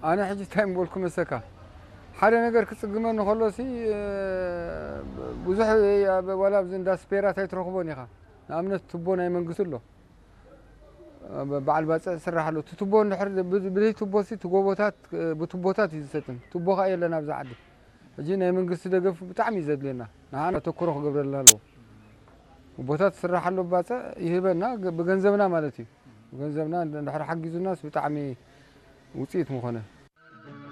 ኣነ ሕጂ እንታይ ምበልኩ መሰካ፣ ሓደ ነገር ክጽግመኒ ከሎ ሲ ብዙሕ፣ ዋላ ኣብዚ እንዳ ስፔራት ኣይትረኽቦን ኢኻ። ንኣብነት ቱቦ ናይ መንግስቲ ኣሎ፣ በዓል ባፅዕ ዝስራሕ ኣሎ። እቲ ቱቦ እንድሕር ብዘይ ቱቦ ሲ እቲ ጎቦታት ብቱቦታት እዩ ዝሰጥም። ቱቦ ከዓ የለን ኣብዚ ዓዲ። ሕጂ ናይ መንግስቲ ደገፍ ብጣዕሚ እዩ ዘድልየና። ንዓና ተክሮ ክገብረልና ኣለዎ። ጎቦታት ዝስራሕ ኣሎ፣ ባፅዕ ይህበና፣ ብገንዘብና ማለት እዩ። ብገንዘብና እንድሕር ሓጊዙናስ ብጣዕሚ ውፅኢት ምኾነ።